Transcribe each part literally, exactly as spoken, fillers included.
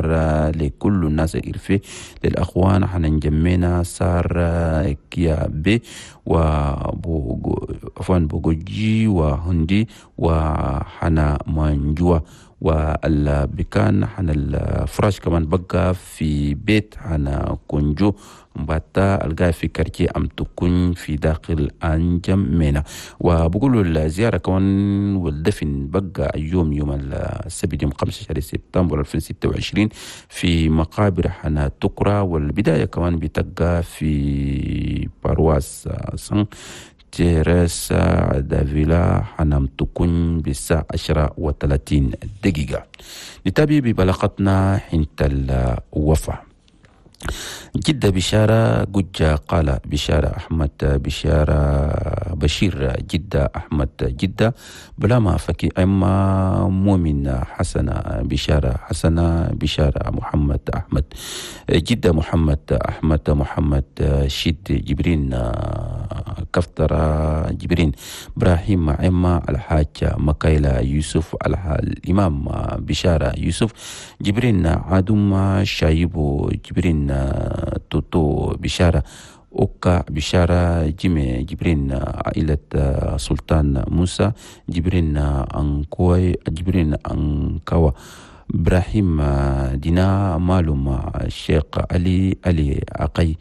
البحر لكل الناس الإرفي للأخوان حننجمينا سار كيا بي وعفوا بوجي وهندي وحنا مانجوا والبكان حنا الفراش كمان بقى في بيت حنا كونجو مباتا القاي في كركي أم تكون في داخل أنجم مينا. وبقولوا الزيارة كمان والدفن بقى يوم يوم السبت يوم خمسة شهر سبتمبر ألفين وستة وعشرين في مقابر حنا تكرا، والبداية كمان بتبقى في بارواس سان تيريسا دافيلا حنم تكون بالساعة عشرة وثلاثين دقيقة. نتابع ببلاغتنا حين الوفاة. جدة بشارة ججة قال بشارة أحمد بشارة بشير جدة أحمد جدة بلاما فكي أما مؤمن حسنة بشارة حسنة بشارة محمد أحمد جدة محمد أحمد محمد شد جبرين كفترة جبرين إبراهيم عما الحاج مكايلا يوسف الإمام بشارة يوسف جبرين عدم شايبو جبرين توتو بشارة أوكا بشارة جيمي جبرين عائلة سلطان موسى جبرين أنكوي جبرين أنكوا إبراهيم دينا مالوم الشيخ علي علي أقي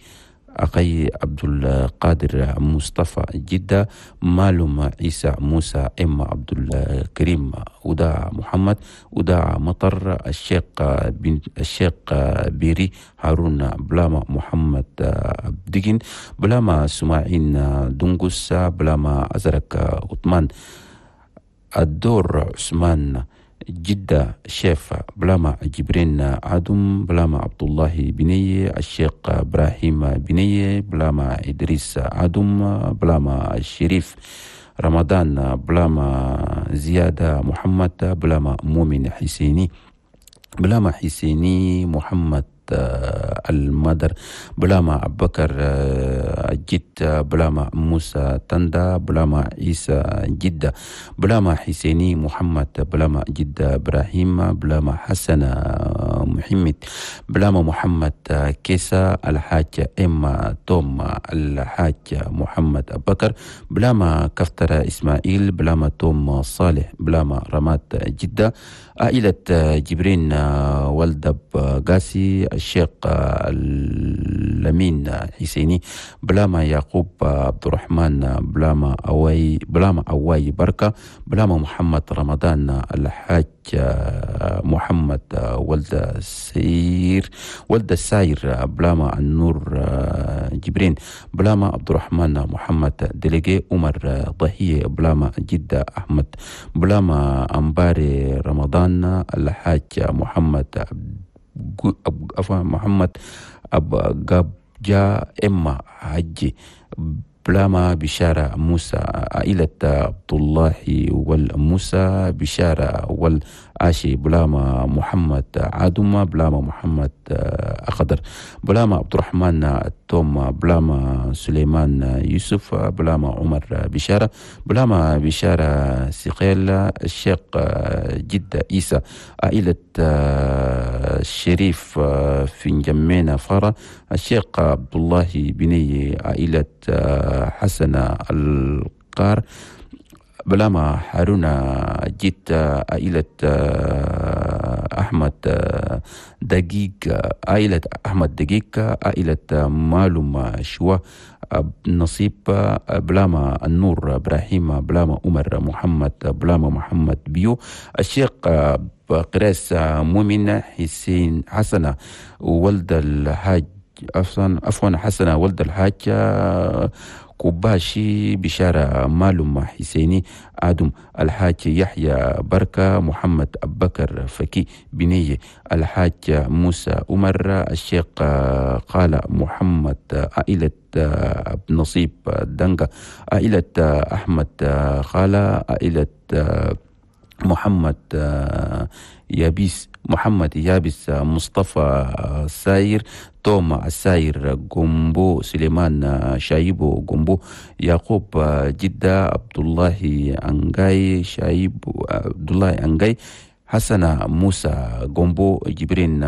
أخي عبد القادر مصطفى جدة مالوم عيسى موسى إما عبد الكريم ودا محمد ودا مطر الشيخ بن الشيخ بيري هارون بلاما محمد عبدين بلاما سماعين دنقس بلاما أزرق عثمان الدور عثمان جدة شيف بلاما جبرين عدم بلاما عبد الله بني الشيخ إبراهيم بني بلاما إدريس عدم بلاما الشريف رمضان بلاما زيادة محمد بلاما مؤمن حسيني بلاما حسيني محمد المدر بلاما أبكر جد بلاما موسى تندا بلاما عيسى جدة بلاما حسيني محمد بلاما جدة إبراهيم بلاما حسن محمد بلاما محمد كيسا الحاج إما توم الحاج محمد أبكر بلاما كفتر إسماعيل بلاما توم صالح بلاما رمات جدة عائلة جبرين والدب قاسي الشيخ لمين حسيني بلاما يعقوب عبد الرحمن بلاما أواي بلاما أواي بركة بلاما محمد رمضان الحاج محمد ولد سير ولد الساير بلاما النور جبرين بلاما عبد الرحمن محمد دليجي عمر ضحية بلاما جدة أحمد بلاما أمباري رمضان الحاج محمد محمد أب جا إما حجي بلاما بشارة موسى عائلة عبد الله والموسى بشارة والعاشي بلاما محمد عدوما بلاما محمد أخضر بلاما عبد الرحمن توم بلاما سليمان يوسف بلاما عمر بشارة بلاما بشارة سقيل الشيخ جدة عيسى عائلة الشريف في جمينا فارة الشيخ عبد الله بني عائلة حسن القار بلاما هارون جيت عائلة أحمد دقيق عائلة أحمد دقيق عائلة مالوم شوا نصيب بلاما النور إبراهيم بلاما عمر محمد بلاما محمد بيو الشيخ قراس مؤمن حسين حسنة ولد الحاج عفوا عفوا حسنة ولد الحاج كوباشي بشارة مالوم حسيني آدم الحاج يحيى بركة محمد أبكر فكي بنية الحاج موسى عمر الشيخ قال محمد عائلة نصيب دنقة عائلة أحمد خالة عائلة محمد يابيس محمد يابس مصطفى ساير توما الساير جومبو سليمان شايبو جومبو يعقوب جدة عبد الله أنجاي شايب عبد الله أنجاي حسن موسى جومبو جبرين